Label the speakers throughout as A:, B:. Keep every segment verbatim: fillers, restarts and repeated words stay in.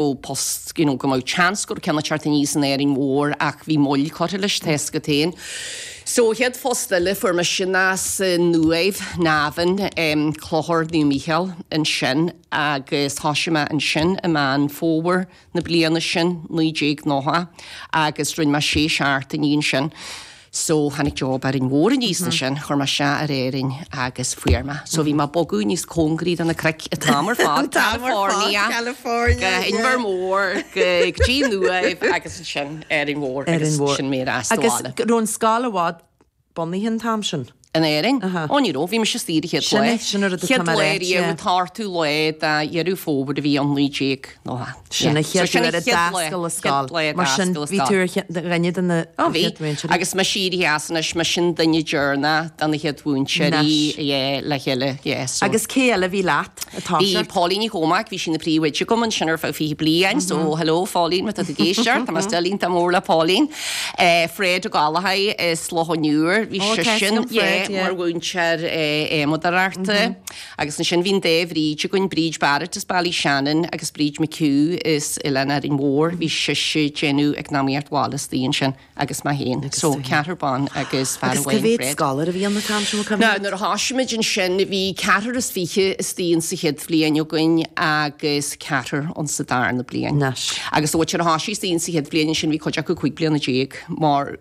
A: Post you know, go mbeadh chance go ceann teacht aníos in Árainn Mhór ach bhí moill curtha leis tá a fhios agat féin. So chéad phost eile fuair mé sin as an Uaimh Navan um, Clochar Naomh Mícheál ansin agus thosaigh mé ansin i Meán Fómhair na bliana sin naoi déag nócha agus rinne mé sé seachtainí ansin. So tháinig job Árainn Mhór aníos ansin, chuir mé isteach ar Árainn agus fuair mé. So bhí mé ag bogadh níos cóngaraí do na cnoic an t-am ar fad California,
B: California
A: go Inbhear Mór go dtí an Uaimh agus ansin Árainn Mhór agus sin mé ar ais
B: Agus raibh an scoil i bhfad bunaithe an t-am sin?
A: In Éirinn? Ó ní raibh, bhí mise istigh an chéad
B: Sin
A: lá.
B: é, sin an rud atá
A: Chéad
B: mé
A: lá
B: a rá,
A: riamh
B: yeah.
A: an t-ochtú lá de Dheireadh Fómhair a bhí ann naoi déag nócha.
B: Sin an
A: Yeah. So
B: chéad
A: sin
B: uair a
A: chéad lá-
B: d'oscail an
A: chéad
B: scoil.
A: lá a
B: Mar sin
A: d'oscail an
B: bhí
A: scoil.
B: tú ar che- dhuine de na
A: Ó bhí.
B: chéad mhúinteoirí.
A: Agus mise éirithe as anois, mise an duine deireanach de na chéad mhúinteoirí,
B: Anois.
A: yeah, le chéile, yeah, so.
B: Agus cé eile a bhí leat ag
A: Bhí
B: toiseacht?
A: Pauline Ní Chormaic, bhí sí ina príomhoide agam ansin ar feadh fiche bliain, so hello Pauline, má tá tú ag éisteacht, tá mé still iontach mór le Pauline. Eh, Fred Ó Gallachóir as Loch an Iúir, bhí
B: Ó,
A: sé
B: tá
A: sin
B: sin Fred, yeah.
A: mar mhúinteoir adhmadóireachta. Agus ansin bhí an dá Bhríd againn, Bríd Barrett as Ballyshannon agus Bríd McHugh as Oileán Árainn Mhór, bhí sise ag déanamh eacnamaíocht bhaile istigh ansin agus mé féin. So ceathrar ban agus fear
B: Agus
A: amháin,
B: cá mhéad
A: Fred.
B: scoláire a bhí ann an t-am sin
A: Ná nuair a thosaigh muid ansin bhí ceathrar is fiche istigh in sa chéad bhliain againn agus ceathrar an sa darna bliain.
B: Anois.
A: Agus ó ar thosaigh istigh in sa chéad bhliain sin bhí cuid acu cúig bliana déag mar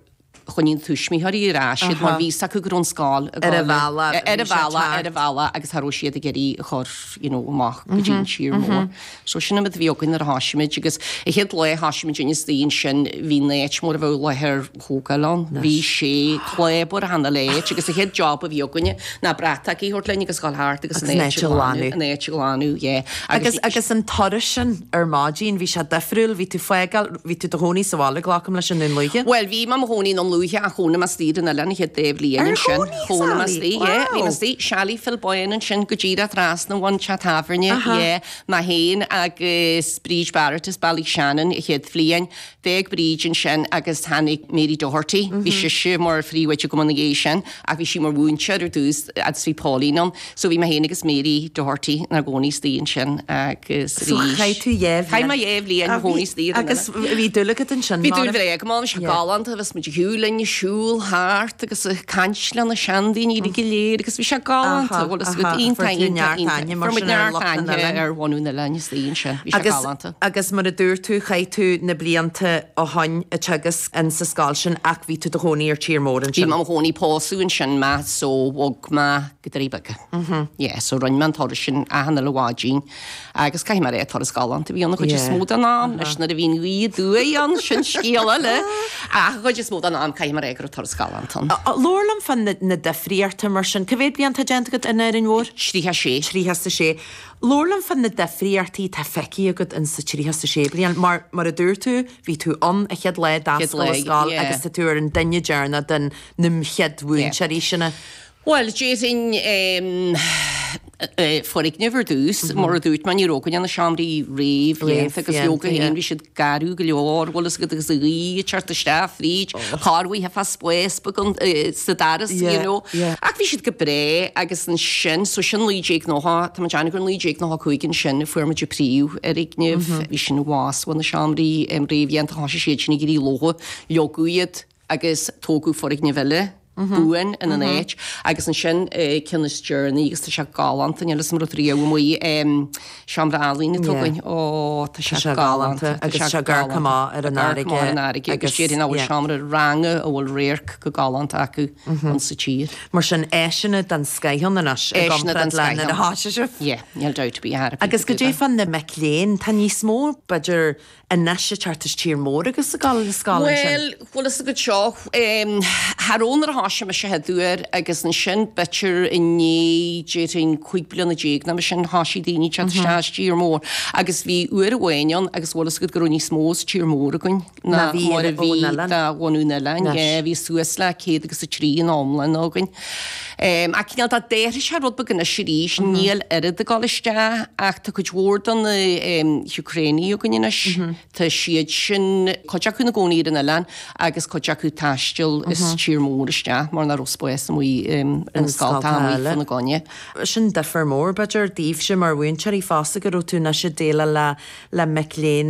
A: choinnigh tuismitheoirí ar ais iad mar bhí a fhios acu go raibh an scoil
B: Ar a bhealach,
A: ar a
B: bhí sé
A: bhealach
B: teacht.
A: ar a bhealach agus cha raibh siad ag iarraidh a chur you know, amach go dtí an tír mór. So sin an rud a bhí againn nuair a thosaigh muid agus an chéad lá a thosaigh muid istigh ansin bhí an áit mar a bheadh láthair thógáil ann. Bhí sé clábar cheana léit agus an chéad job a bhí againne ná bratach a thabhairt linn agus dul thart agus
B: Agus an áit a ghlanadh.
A: an áit a ghlanadh, yeah.
B: Agus agus an turas sin ar maidin bhí sé difriúil, bhí tú fágáil, bhí tú i do chónaí sa bhaile glacaim leis i nDún Lúiche.
A: Well, bhí mé i mo chónaí i nDún Lúiche ach chónaigh mé istigh ar an oileán an chéad dá bhliain
B: Ar
A: ansin.
B: chónaí,
A: Chónaigh mé
B: Sally?
A: istigh, yeah, bhí mé
B: Wow.
A: istigh Chalet Phil Boyne ansin go díreach trasna ón teach tábhairne, yeah, mé féin agus Bríd Barrett as Ballyshannon an chéad bhliain. D'fhág Bríd ansin agus tháinig Mary Doherty, bhí sise mar phríomhoide agam ina dhiaidh sin, ach bhí sí mar mhúinteoir ar dtús agus bhí Pauline ann. So bhí mé féin agus Mary Doherty inár gcónaí istigh ansin agus
B: So chaith tú dhá
A: Chaith mé dhá bhliain
B: Ah,
A: i gcónaí
B: bhí-
A: istigh ar an
B: Agus
A: oileán.
B: bhí dúil agat ansin.
A: Bhí
B: mar
A: dúil
B: a-
A: bhréag má sé
B: Yeah.
A: galánta bhí muid shiúlinn siúl thart agus ag caint le na seandaoine go léir agus bhí sé galánta
B: Aha,
A: bhfuil
B: aha, fuair tú neart aithne mar sin ar lucht an oileáin.
A: ar bhunú na leine ansin bhí sé
B: Agus,
A: galánta.
B: agus mar a dúirt tú chaith tú na blianta ó shin ag teagasc in sa scoil sin ach bhí tú i do chónaí ar tír mór
A: Bhí
B: ansin.
A: mé i mo chónaí pósadh ansin mé so bhog mé go Doirí Beaga. Yeah, so rinne mé an turas sin achan uile mhaidin agus caithfidh mé rá turas galánta bhí an chuid is
B: Yeah.
A: mó den am leis nuair a bhíonn gaoth aduaidh ann sin scéal eile ach an chuid is mó den am caithfidh mé rá go raibh turas galánta ann.
B: Labhair liom fá na, na difríochtaí mar sin, Cá mhéad bliain tá déanta agat in Árainn Mhór?
A: Tríocha sé.
B: Tríocha a sé. Labhair liom fá na difríochtaí tá feicthe agat in sa tríocha a sé bliain, mar mar a dúirt tú, bhí tú ann an chéad lá d'oscail
A: lá,
B: an scoil
A: yeah.
B: agus tá tú ar an duine deireanach den na chéad mhúinteoirí sinne.
A: Well, déarfainn um, foirgneamh ar dtús, mar a dúirt mé ní raibh na seomraí réamhdhéanta agus leoga
B: yeah.
A: féin bhí siad garbh go leor bhfuil agat agus a ghaoth ag teacht isteach fríd, corruair fá spéis sa doras, you
B: Yeah,
A: know.
B: yeah.
A: Ach bhí siad go breá agus ansin, so sin naoi déag nócha, tá déanamh gur naoi déag nócha cúig ansin fuair muid an príomhfhoirgneamh, bhí sin bhás na seomraí réamhdhéanta thosaigh siad sin ag éirí lofa, leagadh iad agus tógadh foirgneamh eile. buan ina n-áit agus ansin ceann is deireanaí agus tá sé galánta níl is rud riamh amuigh seomra ealaíne
B: Yeah.
A: tugainn ó tá
B: sé
A: sé
B: galánta
A: galánta
B: agus sé ag amharc amach ar an
A: Ag amharc amach ar an
B: fharraige
A: fharraige agus
B: agus-
A: déarfainn nach bhfuil
B: yeah.
A: seomra ranga a bhfuil radharc go galánta acu an sa tír.
B: Mar sin áiseanna den scoth anois i
A: Áiseanna den
B: gcomparáid le nuair a
A: scoth.
B: thosaigh sibh.
A: Yeah, níl dabht ar bith
B: Agus go dté fan na mic léinn tá níos mó b'fhéidir anois ag teacht as tír mór agus ag gabháil na scoil ansin.
A: Well, bhfuil a fhios agat seo thar ónar tha me se headúir agus ansin b'fhéidir i ndiaidh déarfainn cúig bliana déag ná sin thosaigh daoine teacht isteach tír mór agus bhí uair amháin ann agus bhfuil a fhios agat go raibh níos mó sa tír mór againn
B: Ná
A: ná
B: bhí
A: mar a
B: ón
A: bhí
B: oileán.
A: de bhunú na oileán.
B: Anois.
A: Yeah, bhí suas le céad agus a trí in iomlán againn. Um, ach cineál tá d'athraigh sé rud beag anois arís, níl oiread ag dul isteach ach tá cuid mhór de na um, Úcránaigh againn anois. Tá siad sin cuid acu ina gcónaí ar an oileán agus cuid acu ag taisteal as tír mór isteach. isteach mar nach raibh spás amuigh ar na scoltacha amuigh fá na gcoinne.
B: Sin difear mór b'fhéidir daoibhse mar mhúinteoirí fosta go raibh tú anois ag déileáil le le mic léinn